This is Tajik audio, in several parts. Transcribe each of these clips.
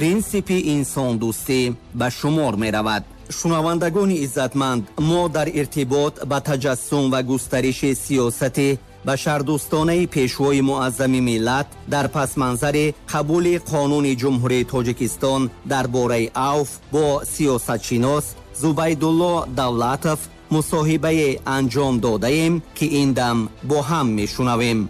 Принсипи инсондӯстӣ ба шумор меравад. Шунавандагони иззатманд, мо дар иртибот ба таҷассум ва густариши сиёсати башардӯстонаи Пешвои Муаззами миллат дар пасманзари қабули Қонуни Ҷумҳурии Тоҷикистон дар бораи авф бо сиёсатшинос Зубайдулло Давлатов мусоҳибае анҷом додаем, ки ин дам бо ҳам мешунавем.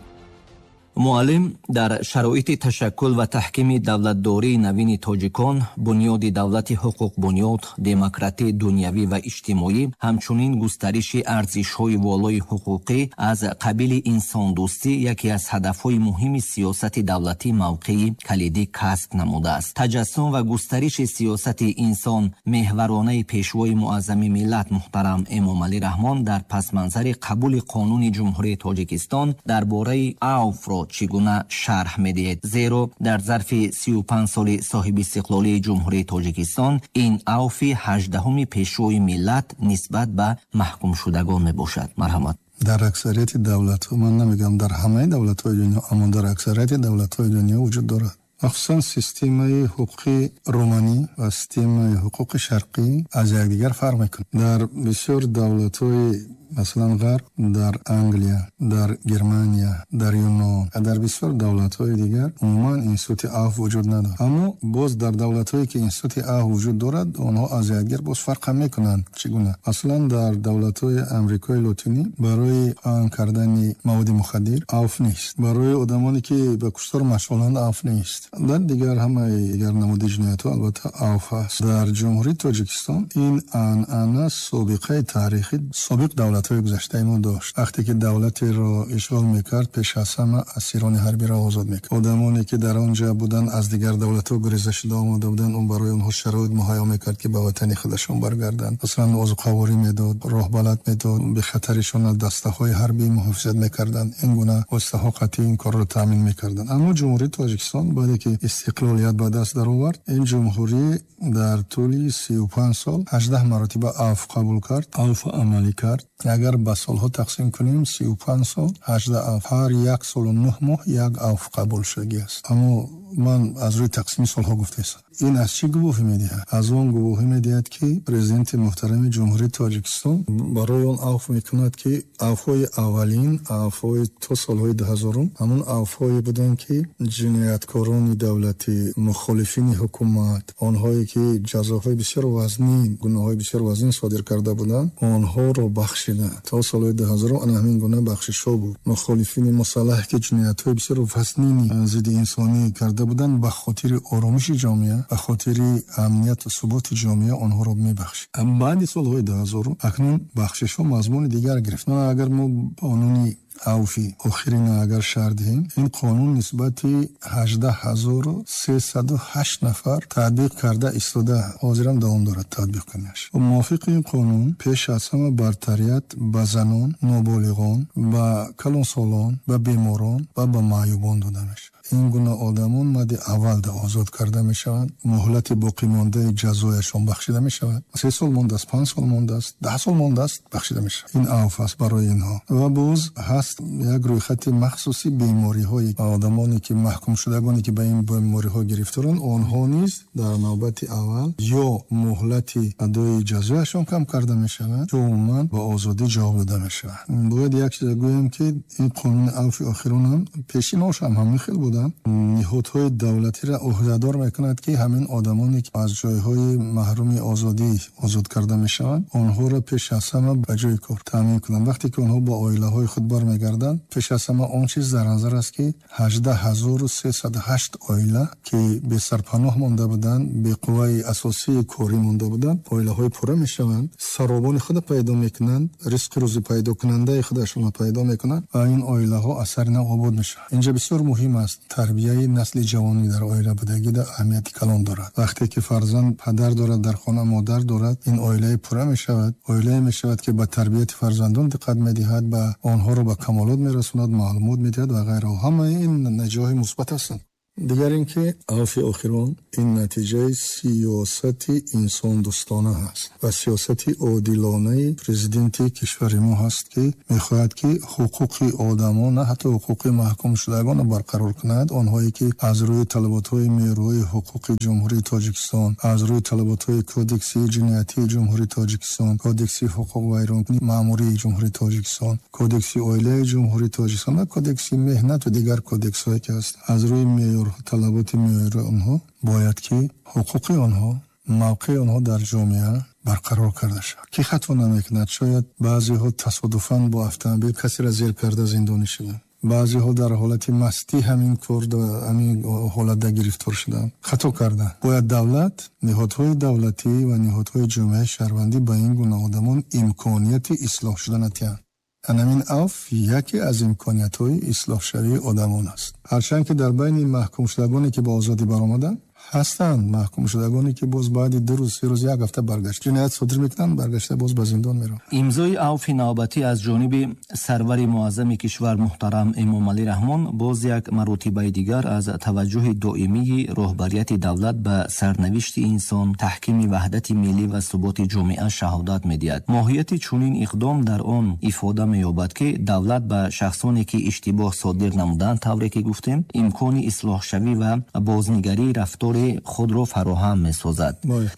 Муаллим, дар шароити ташаккул ва таҳкими давлатдории навини тоҷикон, бунёди давлати ҳуқуқбунёд, демократӣ, дунявӣ ва иҷтимоӣ, ҳамчунин густариши арзишҳои волои ҳуқуқӣ аз қабили инсондӯстӣ яке аз ҳадафҳои муҳими сиёсати давлатӣ мавқеи калидӣ касб намудааст. Таҷассум ва густариши сиёсати инсонмеҳваронаи Пешвои Муаззами миллат муҳтарам Эмомалӣ Раҳмон дар пасманзари қабули Қонуни Ҷумҳурии Тоҷикистон дар бораи авфро чӣ гуна шарҳ медиҳед? Зеро дар зарфи 35 соли соҳибистиқлолии Ҷумҳурии Тоҷикистон ин авфи 18-уми Пешвои миллат нисбат ба маҳкумшудагон мебошад. Марҳамат. Дар аксарияти давлатҳо, ман намегӯям дар ҳамаи давлатҳои дунё, аммо дар аксарияти давлатҳои дунё вуҷуд дорад. Махсусан системаи ҳуқуқи романӣ ва системаи ҳуқуқи шарқӣ аз якдигар фарқ мекунад. Дар бисёр давлатҳои, масалан, Ғарб, дар Англия, дар Германия, дар Юнон ва дар бисёр давлатҳои дигар умуман институти авф вуҷуд надорад. Аммо боз дар давлатҳое, ки институти авф вуҷуд дорад, онҳо аз якдигар боз фарқ ҳам мекунанд. Чӣ гуна? Масалан, дар давлатҳои Амрикои Лотинӣ барои паҳн кардани маводи мухаддир авф нест, барои одамоне, ки ба куштор машғуланд, авф нест. Дар дигар ҳамаи дигар намуди ҷиноятҳо, албатта, авф ҳаст. Дар Ҷумҳурии Тоҷикистон ин анъана собиқаи таърихӣ собиқ давлатҳои гузаштаи мо дошт. Вақте ки давлатеро ишғол мекард, пеш аз ҳама асирони ҳарбиро озод мекард. Одамоне, ки дар он ҷо буданд, аз дигар давлатҳо гуреза шуда омода буданд, он барои онҳо шароит муҳайё мекард, ки ба ватани худашон баргарданд. Масалан, озуқаворӣ медод, роҳбалад медод, бехатаришон аз дастаҳои ҳарбӣ муҳофизат мекарданд. Ин гуна воситаҳо қатъӣ ин корро таъмин мекарданд. Аммо Ҷумҳурии Тоҷикистон баъде ки истиқлолият ба даст даровард, ин ҷумҳурӣ дар тӯли 35 сол 18 маротиба авф қабул кард, авф амалӣ кард. Агар ба солҳо тақсим кунем, 35 сол, 18 авф, ҳар як солу 9 моҳ як авф қабул шудагӣ аст. Аммо ман аз рӯи тақсими солҳо гуфтаистам. Ин аз чӣ гувоҳӣ медиҳад? Аз он гувоҳӣ медиҳад, ки Президенти муҳтарами Ҷумҳурии Тоҷикистон барои он авф мекунад, ки авфҳои аввалин, авфҳои то солҳои 2000-ум, ҳамон авфҳое буданд, ки ҷинояткорони давлатӣ, мухолифини ҳукумат, онҳое, ки ҷазоҳои бисёр вазнин, гуноҳҳои бисёр вазнин содир карда буданд, онҳоро бахшиданд. То солҳои 2000-ум ана ҳамин гуна бахшишҳо буд. Мухолифини мусаллаҳ, ки ҷиноятҳои бисёр вазнини зидди инсонӣ карда буданд, ба хотири оромиши ҷомеа, ба хотири амният ва суботи ҷомеа онҳоро мебахшид. Баъди солҳои 2000-ум акнун бахшишҳо мазмуни дигар гирифт. Агар мо қонуни авфи охирина агар шарҳ диҳем, ин қонун нисбати 18 308 нафар татбиқ карда истода, ҳозирам давом дорад татбиқ кунаш. Мувофиқи ин қонун, пеш аз ҳама бартарият ба занон, ноболиғон, ба калонсолон, ба беморон ва ба маъюбон дода мешавад. Ин гуна одамон мадди аввалда озод карда мешаванд, муҳлати боқимондаи ҷазояшон бахшида мешавад. 3 сол мондааст, 5 сол мондааст, 10 сол мондааст, бахшида мешавад. Ин авф аст барои инҳо. Ва боз ҳаст як рӯйхати махсуси бемориҳои одамоне, ки маҳкумшудагоне, ки ба ин бемориҳо гирифторанд, онҳо низ дар навбати аввал ё муҳлати адои ҷазояшон кам карда мешавад, ё умуман ба озодӣ ҷавоб дода мешавад. Бояд як чиз гӯем, ки ин қонуни авфи охиронам, пешинош ҳам ҳамин хел буданд, ниҳодҳои давлатиро ӯҳдадор мекунад, ки ҳамин одамоне, ки аз ҷойҳои маҳруми озодӣ озод карда мешаванд, онҳоро пеш аз ҳама ба ҷои кор таъмин кунанд. Вақте ки онҳо ба оилаҳои худ бармегарданд, пеш аз ҳама он чиз дар назар аст, ки 18 308 оила, ки бесарпаноҳ монда буданд, беқувваи асосии корӣ монда буданд, оилаҳои пурра мешаванд, саробони худро пайдо мекунанд, ризқи рӯзӣ пайдокунандаи худашонро пайдо мекунанд ва ин оилаҳо аз сари нав обод мешаванд. Инҷа бисёр муҳим аст, тарбияи насли ҷавонӣ дар оила будагида аҳамияти калон дорад. Вақте ки фарзанд падар дорад, дар хона модар дорад, ин оилаи пурра мешавад, оилае мешавад, ки ба тарбияти фарзандон диққат медиҳад, ба онҳоро ба камолот мерасонад, маълумот медиҳад ва ғайраҳо. Ҳамаи ин натиҷаҳои мусбат ҳастанд. Дигар ин ки авфи охирон ин натиҷаи сиёсати инсондӯстона ҳаст ва сиёсати одилонаи президенти кишвари мо ҳаст, ки мехоҳад ки ҳуқуқи одамон, на ҳатто ҳуқуқи маҳкумшудагонро барқарор кунад, онҳое ки аз рӯи талаботҳои меъёрҳои ҳуқуқи Ҷумҳурии Тоҷикистон, аз рӯи талаботҳои Кодекси ҷиноятии Ҷумҳурии Тоҷикистон, Кодекси ҳуқуқвайронкунии маъмурии Ҷумҳурии Тоҷикистон, Кодекси оилаи Ҷумҳурии Тоҷикистон ва Кодекси меҳнат ва дигар кодексҳое ки ҳаст, аз рӯи талаботи меъёри онҳо бояд ки ҳуқуқи онҳо, мавқеи онҳо дар ҷомеа барқарор карда шавад. Ки хато намекунад, шояд баъзеҳо тасодуфан бо автомобил касеро зер карда зиндонӣ шуданд, баъзеҳо дар ҳолати мастӣ ҳамин кор, ҳамин ҳолатда гирифтор шуданд, хато карданд. Бояд давлат, ниҳодҳои давлатӣ ва ниҳодҳои ҷомеаи шаҳрвандӣ ба ин гуна одамон имконияти ислоҳ шудан диҳанд. Ҳамин авф яке аз имкониятҳои ислоҳшавии одамон аст. Ҳарчанд ки дар байни маҳкумшудагоне ки ба озодӣ баромаданд ҳастанд маҳкумшудагоне ки боз баъди 2 рӯз, 3 рӯз, як ҳафта баргашт ҷиноят содир мекунанд, баргашта боз ба зиндон мераванд. Имзои авфи навбатӣ аз ҷониби сарвари муаззами кишвар муҳтарам Эмомалӣ Раҳмон боз як маротибаи дигар аз таваҷҷӯҳи доимии роҳбарияти давлат ба сарнавишти инсон, таҳкими ваҳдати миллӣ ва суботи ҷомеа шаҳодат медиҳад. Моҳияти чунин иқдом дар он ифода меёбад, ки давлат ба шахсоне ки иштибоҳ содир намуданд, тавре ки гуфтем, имкони ислоҳшавӣ ва бознигарии рафтори худро фароҳам месозад.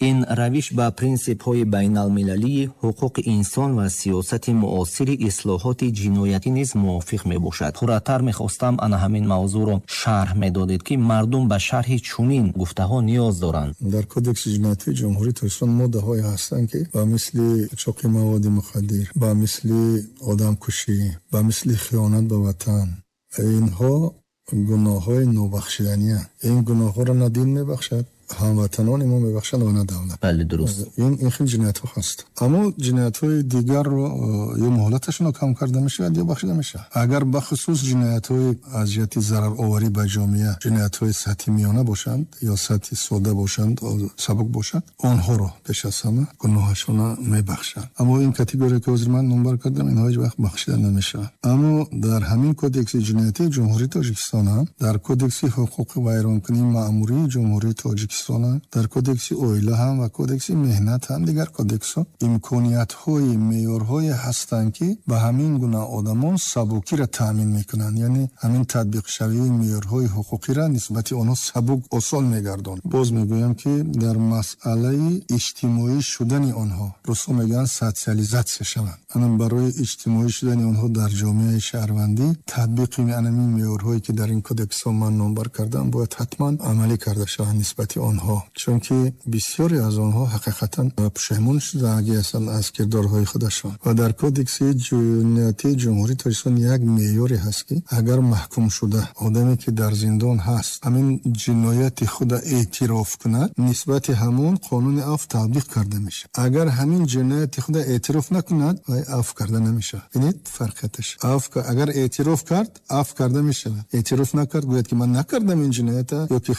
Ин равиш ба принсипҳои байналмилалии ҳуқуқи инсон ва сиёсати муосири ислоҳоти ҷиноятӣ низ мувофиқ мебошад. Пурратар мехостам ана ҳамин мавзӯъро шарҳ медодед, ки мардум ба шарҳи чунин гуфтаҳо ниёз доранд. Дар Кодекси ҷиноятии Ҷумҳурии Тоҷикистон моддаҳое ҳастанд, ки ба мисли қочоқи маводи мухаддир, ба мисли одамкушӣ, ба мисли хиёнат ба ватан, инҳо гуноҳҳои нобахшиданианд. Ин гуноҳҳоро на дин мебахшад, ҳамватанони мо мебахшанд ва на давлат. Бале, дуруст. Ин хел ҷиноятҳо ҳаст. Аммо ҷиноятҳои дигарро ё муҳлаташонро кам карда мешавад ё бахшида мешавад. Агар бахусус ҷиноятҳои аз ҷиҳати зарароварӣ ба ҷомеа, ҷиноятҳои сатҳи миёна бошанд ё сатҳи сода бошанд, сабук бошанд, онҳоро пеш аз ҳама гуноҳашонро мебахшанд. Аммо ин категория ки ҳозир ман номбар кардам, инҳо ҳеҷ вақт бахшида намешаванд. Аммо дар ҳамин Кодекси ҷиноятии Ҷумҳурии Тоҷикистон ҳам, дар Кодекси ҳуқуқи вайронкунии маъмурии Ҷумҳурии Тоҷикистон, дар Кодекси оила ҳам ва Кодекси меҳнат ҳам, дигар кодексҳо имкониятҳои меъёрҳое ҳастанд, ки ба ҳамин гуна одамон сабукиро таъмин мекунанд. Яъне ҳамин татбиқшавии меъёрҳои ҳуқуқиро нисбати онҳо сабук осон мегардонад. Боз мегӯям, ки дар масъалаи иҷтимоӣ шудани онҳо, русҳо мегӯянд социализатсия шаванд. Ана барои иҷтимоӣ шудани онҳо дар ҷомеаи шаҳрвандӣ татбиқи ҳамин меъёрҳое ки дар ин кодексҳо ман номбар кардам бояд ҳатман амалӣ карда шаванд нисбати онҳо, чунки бисёре аз онҳо ҳақиқатан пушаймон шудагӣ ҳастанд аз кирдорҳои худашон. Ва дар Кодекси ҷиноятии Ҷумҳурии Тоҷикистон як меъёре ҳаст, ки агар маҳкум шуда одаме ки дар зиндон ҳаст ҳамин ҷинояти худа эътироф кунад, нисбати ҳамон қонуни афв татбиқ карда мешавад. Агар ҳамин ҷинояти худа эътироф накунад, вай афв карда намешавад. Бинед фарқияташ. Агар эътироф кард, афв карда мешавад. Эътироф накард, гӯяд ки ман накардам ин ҷиноята, ё ки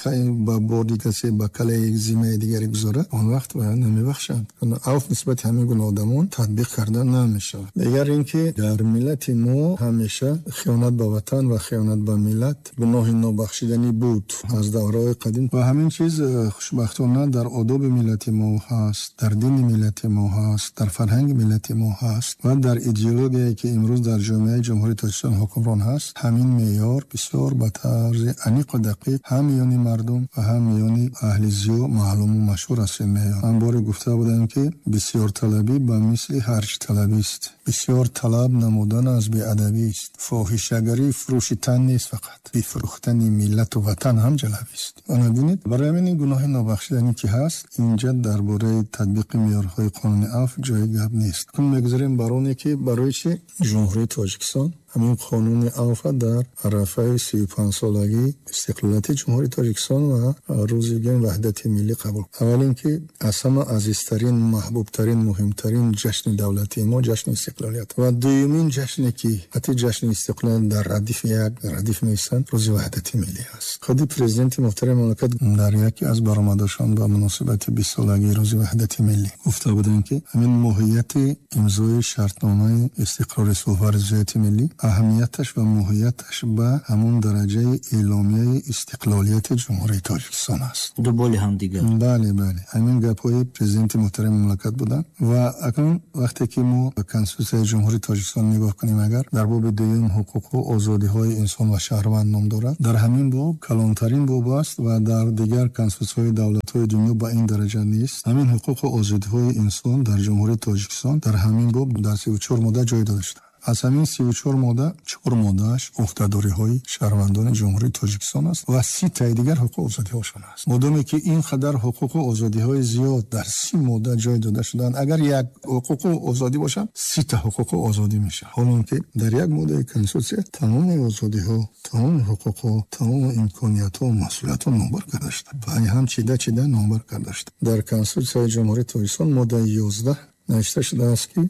ба борди касе ба калаи зимаи дигаре гузорад, он вақт бояд намебахшанд. Афв нисбати ҳамин гуна одамон татбиқ карда намешавад. Дигар ин ки дар миллати мо ҳамеша хиёнат ба ватан ва хиёнат ба миллат гуноҳи нобахшиданӣ буд аз давраҳои қадим ва ҳамин чиз хушбахтона дар одоби миллати мо ҳаст, дар дини миллати мо ҳаст, дар фарҳанги миллати мо ҳаст ва дар идеологияе ки имрӯз дар ҷомеаи Ҷумҳурии Тоҷикистон ҳукмрон ҳаст. Ҳамин меъёр бисёр ба тарзи аниқу дақиқ ҳам миёни мардум ва ҳам миёни аҳли зиё маълуму машҳур аст ин меъёр. Ман боре гуфта будам, ки бисёрталабӣ ба мисли ҳарҷталабист. Бисёр талаб намудан аз беадабист. Фоҳишагарӣ фурӯши тан нест, фақат бифурӯхтани миллату ватан ҳам ҷалабист. Ана бинед, барои ҳамин ин гуноҳи нобахшиданӣ ки ҳаст, инҷа дар бораи татбиқи меъёрҳои қонуни афв ҷои гап нест. Кун мегузарем бар оне ки барои чӣ Ҷумҳурии Тоҷикистон ҳамин қонуни афв дар арафаи 35-солагии истиқлолияти Ҷумҳурии Тоҷикистон ва рӯзи ваҳдати миллӣ қабул. Аввал ин ки аз ҳама азизтарин, маҳбубтарин, муҳимтарин ҷашни давлатии мо ҷашни истиқлолият ва дуюмин ҷашне ки ҳатто ҷашни истиқлолият дар радифи як радиф меистанд, рӯзи ваҳдати миллӣ аст. Худи президенти муҳтарами мамлакат дар яке аз баромадашон ба муносибати 20-солагии рӯзи ваҳдати миллӣ гуфта буданд, ки ҳамин моҳияти имзои шартномаи истиқрори сулҳу ризояти миллӣ Аҳамияташ ва моҳияташ ба ҳамон дараҷаи эъломияи истиқлолияти Ҷумҳурии Тоҷикистон аст. Ду боли ҳамдигар. Бале, бале. Ҳамин гапҳои президенти муҳтарами мамлакат буданд. Ва акнун вақте ки мо ба Конститутсияи Ҷумҳурии Тоҷикистон нигоҳ кунем, агар дар боби дуюм ҳуқуқу озодиҳои инсон ва шаҳрванд ном дорад, дар ҳамин боб калонтарин боб аст ва дар дигар конститутсияҳои давлатҳои дунё ба ин дараҷа нест. Ҳамин ҳуқуқу озодиҳои инсон дар Ҷумҳурии Тоҷикистон дар ҳамин боб дар 34 модда ҷой дода шудааст. Аз ҳамин 34 модда, 4 моддааш уҳдадориҳои шаҳрвандони Ҷумҳурии Тоҷикистон аст ва 30 таи дигар ҳуқуқу озодиҳошон аст. Модоме ки ин қадар ҳуқуқу озодиҳои зиёд дар 30 модда ҷой дода шудаанд, агар як ҳуқуқу озодӣ бошад, 30 та ҳуқуқу озодӣ мешавад. Ҳолон ки дар як моддаи конститутсия тамоми озодиҳо, тамоми ҳуқуқҳо, тамоми имкониятҳо ва масъулиятҳо номбар карда шуда, ҳам чида чида номбар карда шуда. Дар Конститутсияи Ҷумҳурии Тоҷикистон моддаи 11 навишта шудааст, ки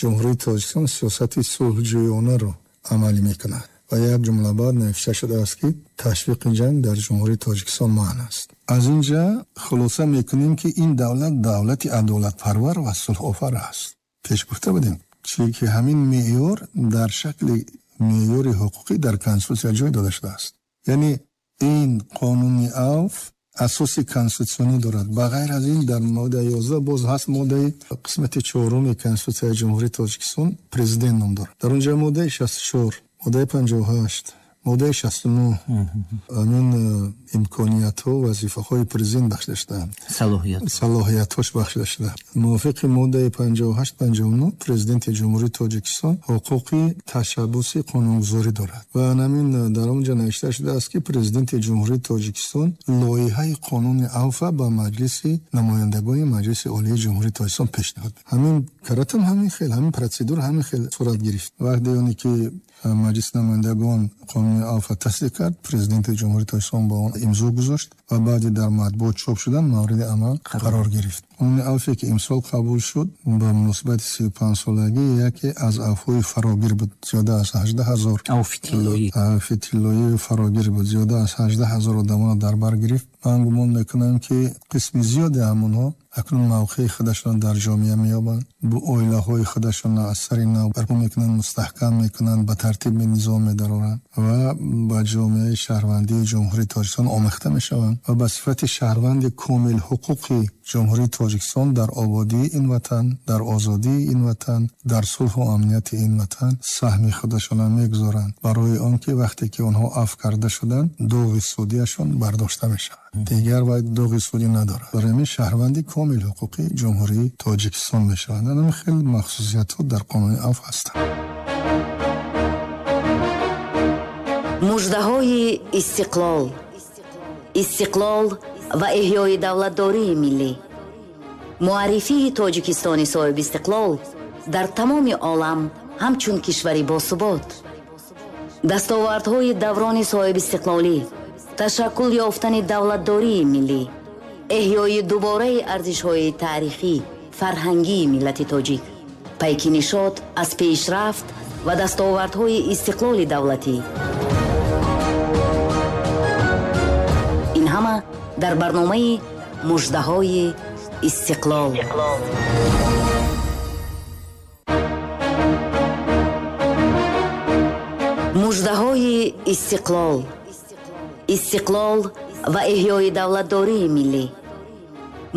Ҷумҳурии Тоҷикистон сиёсати сулҳҷӯёнаро амалӣ мекунад ва як ҷумла баъд навишта шудааст, ки ташвиқи ҷанг дар Ҷумҳурии Тоҷикистон манъ аст. Аз ин ҷа хулоса мекунем, ки ин давлат давлати адолатпарвар ва сулҳофар аст. Пеш гуфта будем, чунки ҳамин меъёр дар шакли меъёри ҳуқуқӣ дар Конститутсия ҷой дода шудааст. Яъне ин қонуни авф асоси конститутсионӣ дорад. Ба ғайр аз ин дар моддаи 11 боз ҳаст моддаи қисмати 4 Конститутсияи Ҷумҳурии Тоҷикистон президент ном дорад. Дар он ҷо моддаи 64, моддаи 58, моддаи 69 ҳамин имкониятҳо, вазифаҳои президент бахшида шудаанд. Салоҳиятҳош бахшида шудаанд. Мувофиқи моддаи 58, 59 президенти Ҷумҳурии Тоҷикистон ҳуқуқи ташаббуси қонунгузорӣ дорад. Ва ҳамин дар он ҷо навишта шудааст, ки президенти Ҷумҳурии Тоҷикистон лоиҳаи қонуни авфа ба Маҷлиси намояндагони Маҷлиси Олии Ҷумҳурии Тоҷикистон пешниҳод мекунад. Ҳамин каратам ҳамин хел, ҳамин процедура ҳамин хел сурат гирифт. Вақте оне ки Маҷлиси намояндагон қонуни авфа тасдиқ кард, президенти Ҷумҳурии Тоҷикистон ба он имзо гузошт ва баъди дар матбуот чоп шудан мавриди амал қарор гирифт. Қонуни авфе ки имсол қабул шуд ба муносибати 35-солагӣ яке аз авфҳои фарогир буд, зиёда аз 18 ҳазор авфи тиллоӣ. Авфи тиллоии фарогир буд, зиёда аз 18 ҳазор одамонро дар бар гирифт. Ман гумон мекунам, ки қисми зиёди ҳамонҳо акнун мавқеи худашонро дар ҷомеа меёбанд, бо оилаҳои худашонро аз сари нав барпо мекунанд, мустаҳкам мекунанд, ба тартиби низом медароранд ва ба ҷомеаи шаҳрвандии Ҷумҳурии Тоҷикистон омехта мешаванд ва ба сифати шаҳрванди комил ҳуқуқи Ҷумҳурии Тоҷикистон дар ободии ин ватан, дар озодии ин ватан, дар сулҳу амнияти ин ватан саҳми худашонро мегузоранд, барои он ки вақте ки онҳо афв карда шуданд, доғи судиашон бардошта мешавад. Дигар вай доғи судӣ надорад. Барои ҳамин шаҳрванди комил ҳуқуқи Ҷумҳурии Тоҷикистон мешаванд. Ҳамин хел махсусиятҳо дар қонуни авф ҳастанд. Муждаҳои истиқлол, истиқлол ва эҳёи давлатдории миллӣ, муаррифии Тоҷикистони соҳибистиқлол дар тамоми олам ҳамчун кишвари босубот, дастовардҳои даврони соҳибистиқлолӣ, ташаккул ёфтани давлатдории миллӣ, эҳёи дубораи арзишҳои таърихӣ, фарҳангии миллати тоҷик, пайки нишот аз пешрафт ва дастовардҳои истиқлоли давлатӣ. Ин ҳама дар барномаи муждаҳои истиқлол. Муждаҳои истиқлол, истиқлол ва эҳёи давлатдории миллӣ,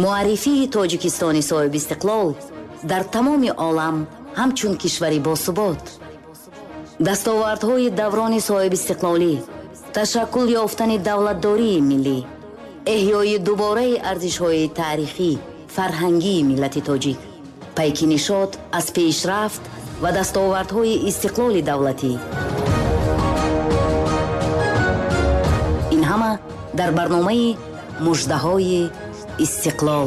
муаррифии Тоҷикистони соҳибистиқлол дар тамоми олам ҳамчун кишвари босубот, дастовардҳои даврони соҳибистиқлолӣ, ташаккул ёфтани давлатдории миллӣ, эҳёи дубораи арзишҳои таърихӣ, фарҳангии миллати тоҷик, пайки нишот аз пешрафт ва дастовардҳои истиқлоли давлатӣ. Ин ҳама дар барномаи муждаҳои истиқлол.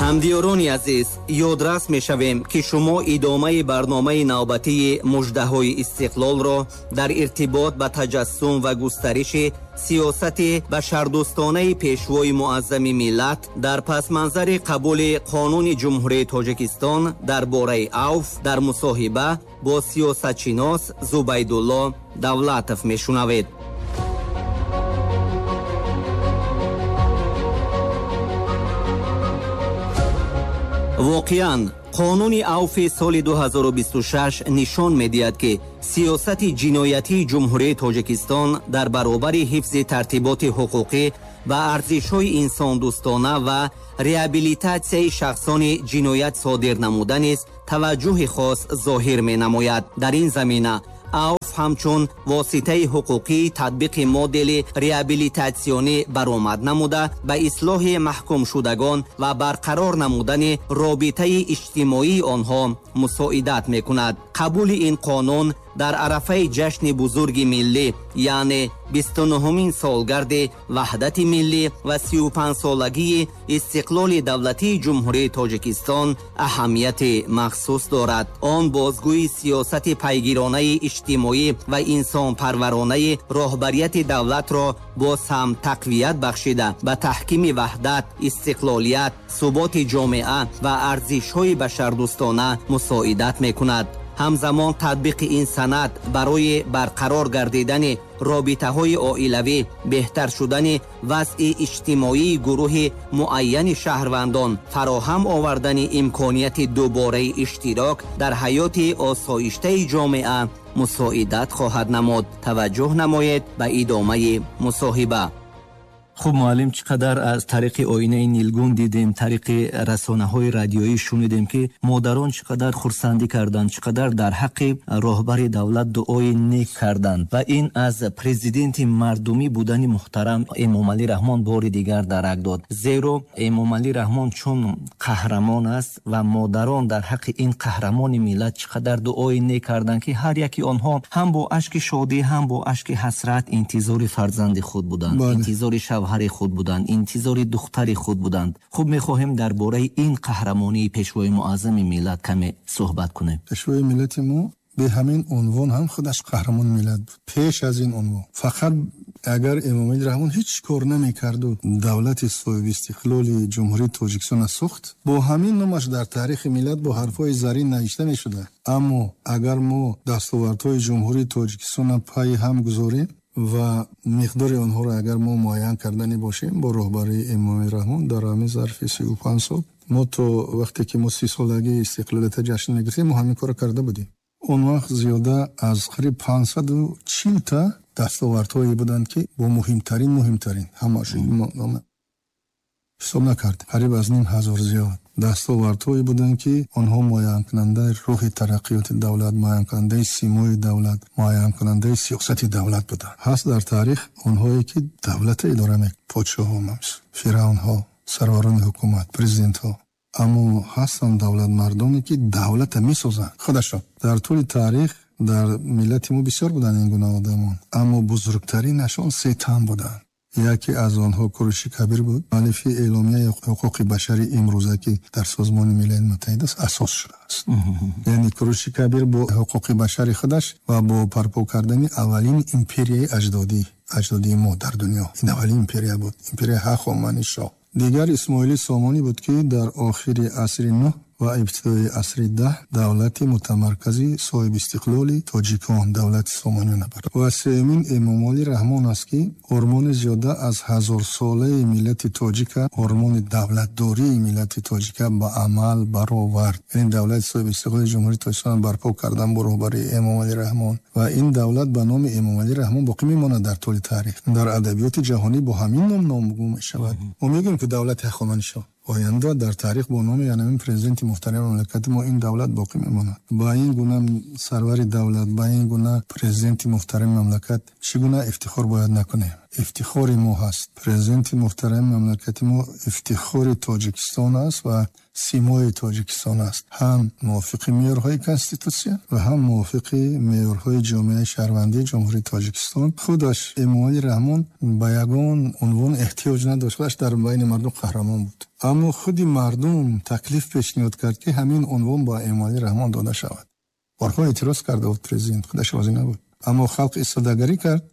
Ҳамдиёрони азиз, ёдрас мешавем, ки шумо идомаи барномаи навбатии муждаҳои истиқлолро дар иртибот ба таҷассум ва густариши сиёсати башардӯстонаи пешвои муаззами миллат дар пасманзари қабули қонуни Ҷумҳурии Тоҷикистон дар бораи авф дар мусоҳиба бо сиёсатшинос Зубайдулло Давлатов мешунавед. Воқеан, қонуни авфи соли 2026 нишон медиҳад, ки сиёсати ҷиноятии Ҷумҳурии Тоҷикистон дар баробари ҳифзи тартиботи ҳуқуқӣ ба арзишҳои инсондӯстона ва реабилитатсияи шахсони ҷиноят содир намуда низ таваҷҷӯҳи хос зоҳир менамояд. Дар ин замина авф ҳамчун воситаи ҳуқуқии татбиқи модели реабилитатсионӣ баромад намуда, ба ислоҳи маҳкумшудагон ва барқарор намудани робитаи иҷтимоии онҳо мусоидат мекунад. Қабули ин қонун дар арафаи ҷашни бузурги миллӣ, яъне 29-умин солгарди ваҳдати миллӣ ва 35-солагии истиқлоли давлатии Ҷумҳурии Тоҷикистон аҳамияти махсус дорад. Он бозгӯи сиёсати пайгиронаи иҷтимоӣ ва инсонпарваронаи роҳбарияти давлатро боз ҳам тақвият бахшида, ба таҳкими ваҳдат, истиқлолият, суботи ҷомеа ва арзишҳои башардӯстона мусоидат мекунад. Ҳамзамон татбиқи ин санад барои барқарор гардидани робитаҳои оилавӣ, беҳтар шудани вазъи иҷтимоии гурӯҳи муайяни шаҳрвандон, фароҳам овардани имконияти дубораи иштирок дар ҳаёти осоиштаи ҷомеа мусоидат хоҳад намуд. Таваҷҷӯҳ намоед ба идомаи мусоҳиба. Хуб, муаллим, чӣ қадар аз тариқи оинаи нилгун дидем, тариқи расонаҳои радиоӣ шунидем, ки модарон чӣ қадар хурсандӣ карданд, чӣ қадар дар ҳаққи роҳбари давлат дуои нек карданд ва ин аз президенти мардумӣ будани муҳтарам Эмомалӣ Раҳмон бори дигар дарак дод. Зеро Эмомалӣ Раҳмон чун қаҳрамон аст ва модарон дар ҳаққи ин қаҳрамони миллат чӣ қадар дуои нек карданд, ки ҳар яки онҳо ҳам бо ашки шодӣ, ҳам бо ашки ҳасрат интизори фарзанди худ буданд, интизори шавҳари худ буданд, интизори духтари худ буданд. Хуб, мехоҳем дар бораи ин қаҳрамонии пешвои муаззами миллат каме суҳбат кунем. Пешвои миллати мо бе ҳамин унвон ҳам худаш қаҳрамони миллат буд. Пеш аз ин унвон фақат агар Эмомалӣ Раҳмон ҳеҷ кор намекарду давлати соҳибистиқлоли Ҷумҳурии Тоҷикистонро сохт, бо ҳамин номаш дар таърихи миллат бо ҳарфҳои зарин навишта мешуда. Аммо агар мо дастовардҳои Ҷумҳурии Тоҷикистонро пайи ҳам гузорем ва миқдори онҳоро агар мо муайян кардани бошем, бо роҳбарии Эмомалӣ Раҳмон дар ҳамин зарфи 35 сол мо то вақте ки мо 30-солагии истиқлолиятро ҷашн мегирифтем, мо ҳамин корро карда будем. Он вақт зиёда аз қариб 540 та дастовардҳое буданд, ки бо муҳимтарин ҳамааш ҳисоб накард, қариб аз 500 зиёд дастовардҳое буданд, ки онҳо муайянкунандаи рӯҳи тараққиёти давлат, муайянкунандаи симои давлат, муайянкунандаи сиёсати давлат буданд. Ҳаст дар таърих онҳое ки давлатро идора мекунанд, подшоҳо, фиръавнҳо, сарварони ҳукумат, президентҳо. Аммо ҳастанд давлатмардоне, ки давлатро месозанд худашон. Дар тӯли таърих дар миллати мо бисёр буданд ин гуна одамон, аммо бузургтаринашон се тан буданд. Яке аз онҳо Куруши Кабир буд, муаллифи эъломияи ҳуқуқи башари имрӯза, ки дар Созмони Милали Муттаҳид аст, асос шудааст. Яъне Куруши Кабир бо ҳуқуқи башари худаш ва бо барпо кардани аввалин империяи аҷдодии мо дар дунё. Ин аввалин империя буд, империяи Ҳахоманишоҳ. Дигар Исмоили Сомонӣ буд, ки дар охири асри 9 ва ибтидои асри 10 давлати мутамаркази соҳибистиқлоли тоҷикон, давлати Сомониён бард. Ва сеюмин Эмомалӣ Раҳмон аст, ки ормони зиёда аз 1000-солаи миллати тоҷика, ормони давлатдории миллати тоҷика ба амал баровард. Яъне давлати соҳибистиқлоли Ҷумҳурии Тоҷикистон барпо кардан бо роҳбарии Эмомалӣ Раҳмон ва ин давлат ба номи Эмомалӣ Раҳмон боқӣ мемонад дар тӯли таърих. Дар адабиёти ҷаҳонӣ бо ҳамин ном номгӯ мешавад. Мо мегӯем, ки давлати Ҳахоманишоҳ оянда дар таърих бо номи ҳамин президенти муҳтарами мамлакати мо ин давлат боқӣ мемонад. Ба ин гуна сарвари давлат, ба ин гуна президенти муҳтарами мамлакат чӣ гуна ифтихор бояд накунем? Ифтихори мо ҳаст. Президенти муҳтарами мамлакати мо ифтихори Тоҷикистон аст ва симои Тоҷикистон аст. Ҳам мувофиқи меъёрҳои конститутсия ва ҳам мувофиқи меъёрҳои ҷомеаи шаҳрвандии Ҷумҳурии Тоҷикистон. Худаш Эмомалӣ Раҳмон ба ягон унвон эҳтиёҷ надошт, худаш дар байни мардум қаҳрамон буд. Аммо худи мардум таклиф пешниҳод кард, ки ҳамин унвон ба Эмомалӣ Раҳмон дода шавад. Борҳо эътироз карда буд президент, худаш розӣ набуд. Аммо халқ истодагарӣ кард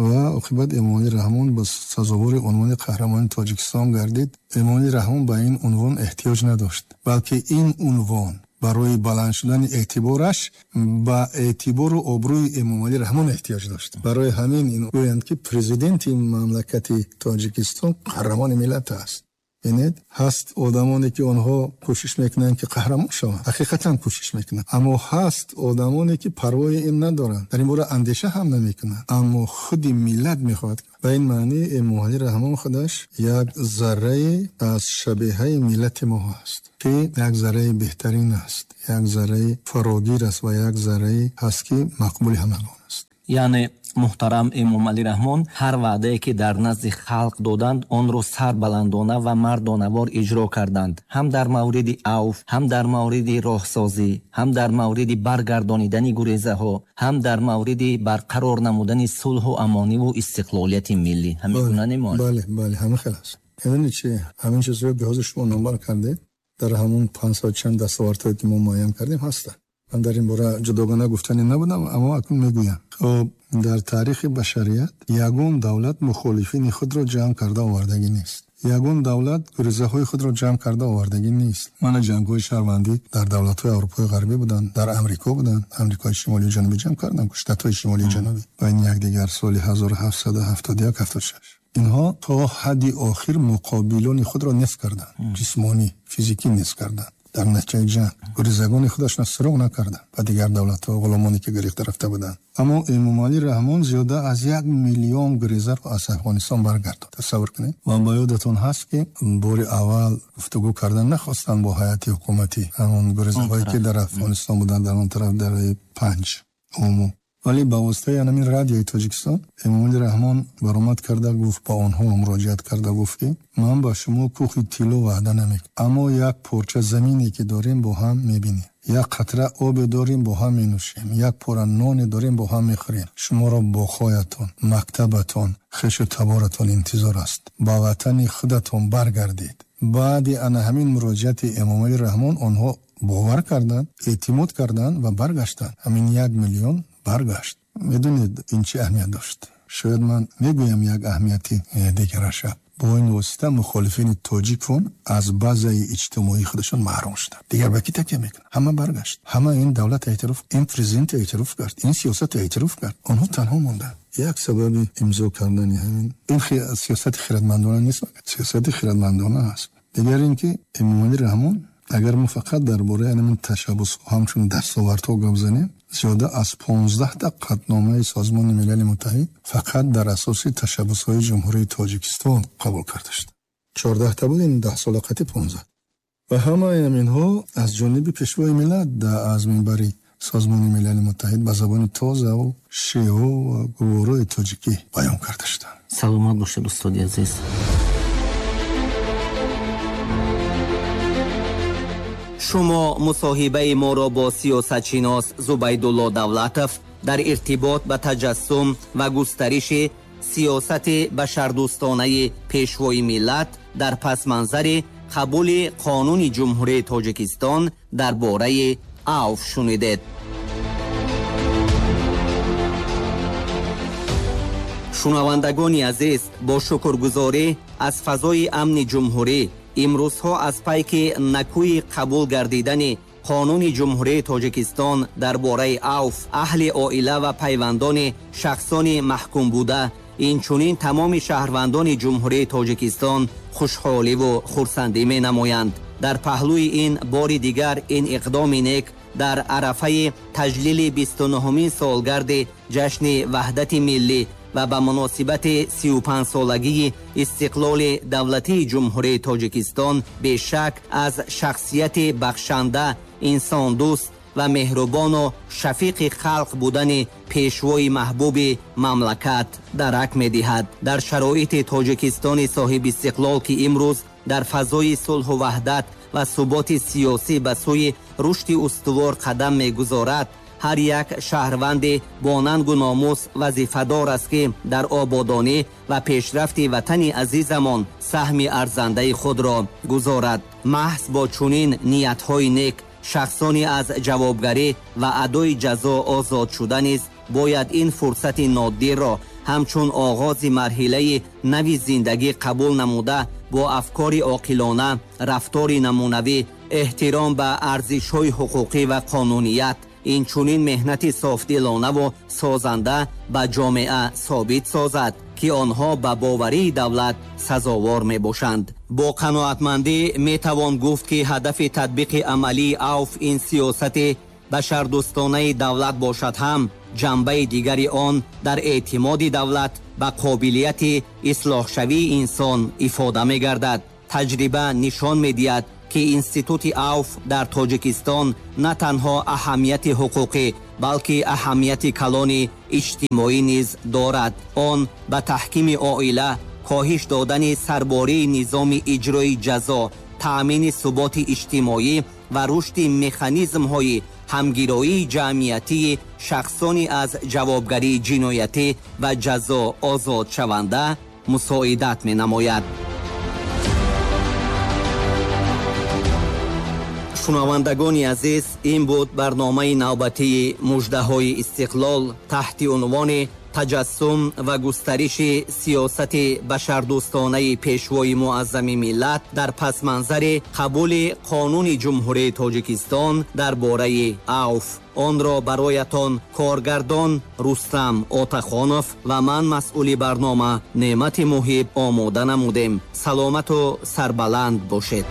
ва оқибат Эмомалӣ Раҳмон ба сазовори унвони қаҳрамони Тоҷикистон гардид. Эмомалӣ Раҳмон ба ин унвон эҳтиёҷ надошт, балки ин унвон барои баланд шудани эътибораш ба эътибору обрӯи Эмомалӣ Раҳмон эҳтиёҷ дошт. Барои ҳамин ин гӯянд, ки президенти мамлакати Тоҷикистон қаҳрамони миллат аст. Бинед, ҳаст одамоне ки онҳо кӯшиш мекунанд ки қаҳрамон шаванд, ҳақиқатан кӯшиш мекунанд, аммо ҳаст одамоне ки парвои ин надоранд, дар ин бора андеша ҳам намекунанд, аммо худи миллат мехоҳад. Ба ин маъни Эмомалӣ Раҳмон худаш як заррае аз шабеҳаи миллати мо ҳаст, ки як зарраи беҳтарин аст, як зарраи фарогир аст ва як заррае ҳаст ки мақбули ҳамагон аст. Яъне муҳтарам Эмомалӣ Раҳмон ҳар ваъдае ки дар назди халқ доданд, онро сарбаландона ва мардонавор иҷро карданд. Ҳам дар мавриди авф, ҳам дар мавриди роҳсозӣ, ҳам дар мавриди баргардонидани гурезаҳо, ҳам дар мавриди барқарор намудани сулҳу амониву истиқлолияти миллӣ. Ҳамин гуна немон? Бале, бале, ҳамин хел аст. Медонед чи? Ҳамин чизҳое ки ҳозир шумо номбар кардед, дар ҳамон 500 чанд дастовардҳое ки мо муайян кардем ҳастанд. Ман дар ин бора ҷудогона гуфтанӣ набудам, аммо акнун мегӯям. Хоб, дар таърихи башарият ягон давлат мухолифини худро ҷамъ карда овардагӣ нест. Ягон давлат гурезаҳои худро ҷамъ карда овардагӣ нест. Мана ҷангҳои шаҳрвандӣ дар давлатҳои Аврупои ғарбӣ буданд, дар Амрико буданд. Амрикои шимолию ҷанубӣ ҷамъ карданд, штатҳои шимолию ҷанубӣ байни якдигар соли 1771 76. Инҳо то ҳадди охир муқобилони худро нест карданд, ҷисмонӣ, физикӣ нест карданд. Дар натиҷаи ҷанг гурезагони худашро суроғ накарданд ба дигар давлатҳо, ғуломоне ки гирифта рафта буданд. Аммо Эмомалӣ Раҳмон зиёда аз 1 миллион гурезаро аз Афғонистон баргардонд. Тасаввур кунед. Ва ба ёдатон ҳаст ки бори аввал гуфтугӯ кардан нахостанд бо ҳайати ҳукуматӣ, ҳамон гурезаҳое ки дар Афғонистон буданд, дар он тараф дараи Панҷ Ому. Вале ба воситаи ҳамин радиои Тоҷикистон Эмомалӣ Раҳмон баромад карда гуфт, ба онҳо муроҷиат карда гуфт ки ман ба шумо кӯхи тилло ваъда намекунам, аммо як порча замине ки дорем бо ҳам мебинем, як қатра обе дорем бо ҳам менӯшем, як пора ноне дорем бо ҳам мехӯрем. Шуморо боғҳоятон, мактабатон, хешу таборатон интизор аст. Ба ватани худатон баргардед. Баъди ана ҳамин муроҷиати Эмомалӣ Раҳмон онҳо бовар карданд, эътимод карданд ва баргаштанд. Ҳамин 1 миллион баргашт. Медонед ин чӣ аҳамият дошт? Шояд ман мегӯям як аҳамияти дигараша. Бо ин восита мухолифини тоҷикон аз базаи иҷтимоии худашон маҳрум шуданд. Дигар ба кӣ такя мекунанд? Ҳама баргашт. Ҳама ин давлат эътироф, ин президент эътироф кард, ин сиёсат эътироф кард. Онҳо танҳо монданд. Як сабаби имзо кардани ҳамин ин сиёсати хирадмандона нест, сиёсати хирадмандона аст. Дигар ин ки Эмомалӣ Раҳмон агар мо фақат дар бораи ҳамин ташаббусҳо ҳамчун дастовардҳо гап занем, зиёда аз 15 та қатъномаи Созмони Милали Муттаҳид фақат дар асоси ташаббусҳои Ҷумҳурии Тоҷикистон қабул карда шуд. 14 та буд, ин 10 сола қатъи 15. Ва ҳамаи ҳаминҳо аз ҷониби Пешвои миллат аз минбари Созмони Милали Муттаҳид ба забони тозаву шеву ва гуворои тоҷикӣ баён карда шуданд. Саломат бошед, устоди азиз. Шумо мусоҳибаи моро бо сиёсатшинос Зубайдулло Давлатов дар иртибот ба таҷассум ва густариши сиёсати башардӯстонаи Пешвои миллат дар пасманзари қабули қонуни Ҷумҳурии Тоҷикистон дар бораи авф шунидед. Шунавандагони азиз, бо шукргузорӣ аз фазои амни ҷумҳурӣ имрӯзҳо аз пайки накӯи қабул гардидани қонуни Ҷумҳурии Тоҷикистон дар бораи авф, аҳли оила ва пайвандони шахсони маҳкум буда, инчунин тамоми шаҳрвандони Ҷумҳурии Тоҷикистон хушҳоливу хурсандӣ менамоянд. Дар паҳлӯи ин бори дигар ин иқдоми нек дар арафаи таҷлили 29-умин солгарди ҷашни ваҳдати миллӣ ва ба муносибати 35-солагии истиқлоли давлатии Ҷумҳурии Тоҷикистон бешак аз шахсияти бахшанда, инсондӯст ва меҳрубону шафиқи халқ будани пешвои маҳбуби мамлакат дарак медиҳад. Дар шароити Тоҷикистони соҳибистиқлол, ки имрӯз дар фазои сулҳу ваҳдат ва суботи сиёсӣ ба сӯи рушди устувор қадам мегузорад, ҳар як шаҳрванди бо нангу номус вазифадор аст, ки дар ободонӣ ва пешрафти ватани азизамон саҳми арзандаи худро гузорад. Маҳз бо чунин ниятҳои нек шахсони аз ҷавобгарӣ ва адои ҷазо озод шуда низ бояд ин фурсати нодирро ҳамчун оғози марҳилаи нави зиндагӣ қабул намуда, бо афкори оқилона, рафтори намунавӣ, эҳтиром ба арзишҳои ҳуқуқӣ ва қонуният, инчунин меҳнати софдилонаву созанда ба ҷомеа собит созад, ки онҳо ба боварии давлат сазовор мебошанд. Бо қаноатмандӣ метавон гуфт, ки ҳадафи татбиқи амалии авф ин сиёсати башардӯстонаи давлат бошад ҳам, ҷанбаи дигари он дар эътимоди давлат ба қобилияти ислоҳшавии инсон ифода мегардад. Таҷриба нишон медиҳад, ки институти авф дар Тоҷикистон на танҳо аҳамияти ҳуқуқӣ, балки аҳамияти калони иҷтимоӣ низ дорад. Он ба таҳкими оила, коҳиш додани сарбории низоми иҷрои ҷазо, таъмини суботи иҷтимоӣ ва рушди механизмҳои ҳамгироии ҷамъиятии шахсони аз ҷавобгарии ҷиноятӣ ва ҷазо озодшаванда мусоидат менамояд. Шунавандагони азиз, ин буд барномаи навбатии муждаҳои истиқлол таҳти унвони таҷассум ва густариши сиёсати башардӯстонаи пешвои муаззами миллат дар пасманзари қабули қонуни Ҷумҳурии Тоҷикистон дар бораи авф. Онро бароятон коргардон Рустам Отахонов ва ман, масъули барнома Неъмати Муҳиб, омода намудем. Саломату сарбаланд бошед.